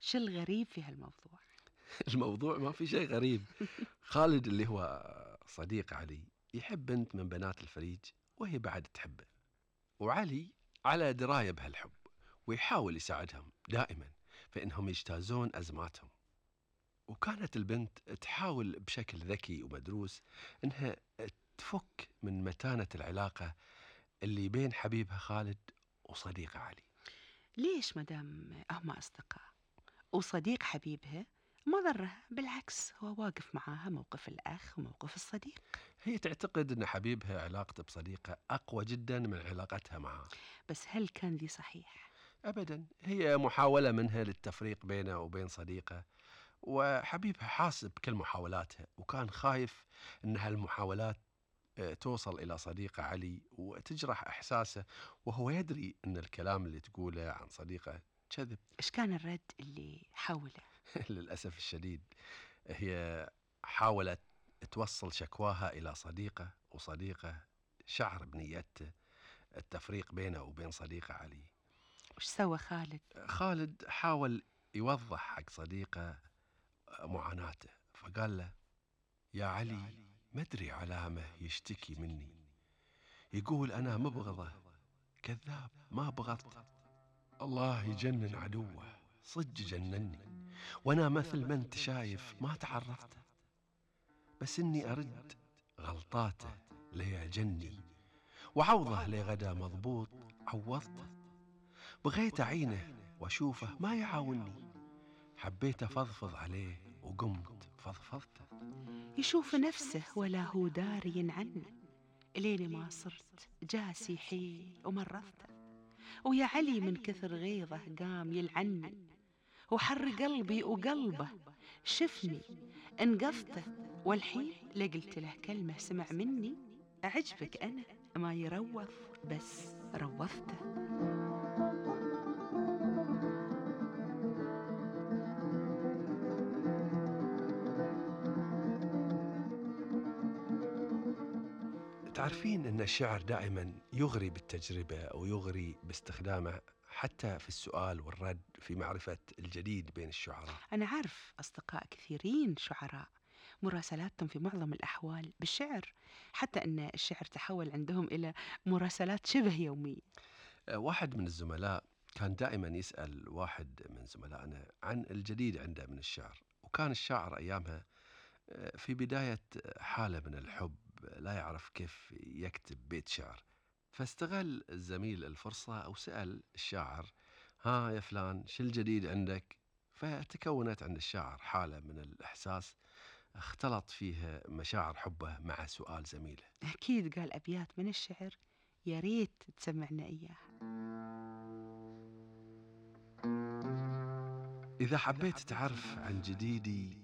شو الغريب في هالموضوع؟ الموضوع ما في شيء غريب. خالد اللي هو صديق علي يحب بنت من بنات الفريج وهي بعد تحبه، وعلي على دراية بهالحب ويحاول يساعدهم دائما في إنهم يجتازون أزماتهم. وكانت البنت تحاول بشكل ذكي ومدروس إنها تفك من متانة العلاقة اللي بين حبيبها خالد وصديقه علي. ليش مدام هم أصدقاء وصديق حبيبها ما ضرها، بالعكس هو واقف معاها موقف الأخ وموقف الصديق. هي تعتقد أن حبيبها علاقته بصديقه أقوى جدا من علاقتها معه. بس هل كان ذي صحيح؟ أبدا، هي محاولة منها للتفريق بينه وبين صديقه، وحبيبها حاسب كل محاولاتها وكان خايف أن هالمحاولات توصل إلى صديقه علي وتجرح إحساسه، وهو يدري أن الكلام اللي تقوله عن صديقه كذب. إيش كان الرد اللي حوله؟ للأسف الشديد هي حاولت توصل شكواها إلى صديقه، وصديقه شعر بنيته التفريق بينه وبين صديقه علي. وش سوى خالد؟ خالد حاول يوضح حق صديقه معاناته، فقال له: يا علي، مدري علامة يشتكي مني، يقول أنا مبغضه، كذاب ما بغضته، الله يجنن عدوه، صدق جنني، وأنا مثل ما أنت شايف ما تعرفته، بس إني أرد غلطاته ليعجني، وعوضه لغدا مضبوط عوضته، بغيت أعينه وأشوفه ما يعاوني، حبيت أفضفض عليه وقمت فضفضته. يشوف نفسه ولا هو داري عنه، لين ما صرت جاسي حيل ومرضته، ويا علي من كثر غيظه قام يلعني، وحر قلبي وقلبه شفني انقذته، والحين لقلت له كلمة سمع مني، أعجبك أنا ما يروض بس روضته. تعرفين أن الشعر دائما يغري بالتجربة أو يغري باستخدامه حتى في السؤال والرد في معرفة الجديد بين الشعراء. أنا عارف أصدقاء كثيرين شعراء مراسلاتهم في معظم الأحوال بالشعر، حتى أن الشعر تحول عندهم إلى مراسلات شبه يومية. واحد من الزملاء كان دائما يسأل واحد من زملائنا عن الجديد عنده من الشعر، وكان الشاعر أيامها في بداية حالة من الحب، لا يعرف كيف يكتب بيت شعر، فاستغل الزميل الفرصة وسأل الشاعر: ها يا فلان، شو الجديد عندك؟ فتكونت عند الشاعر حالة من الإحساس اختلط فيها مشاعر حبه مع سؤال زميله. أكيد قال أبيات من الشعر يا ريت تسمعنا إياها. إذا حبيت تعرف عن جديدي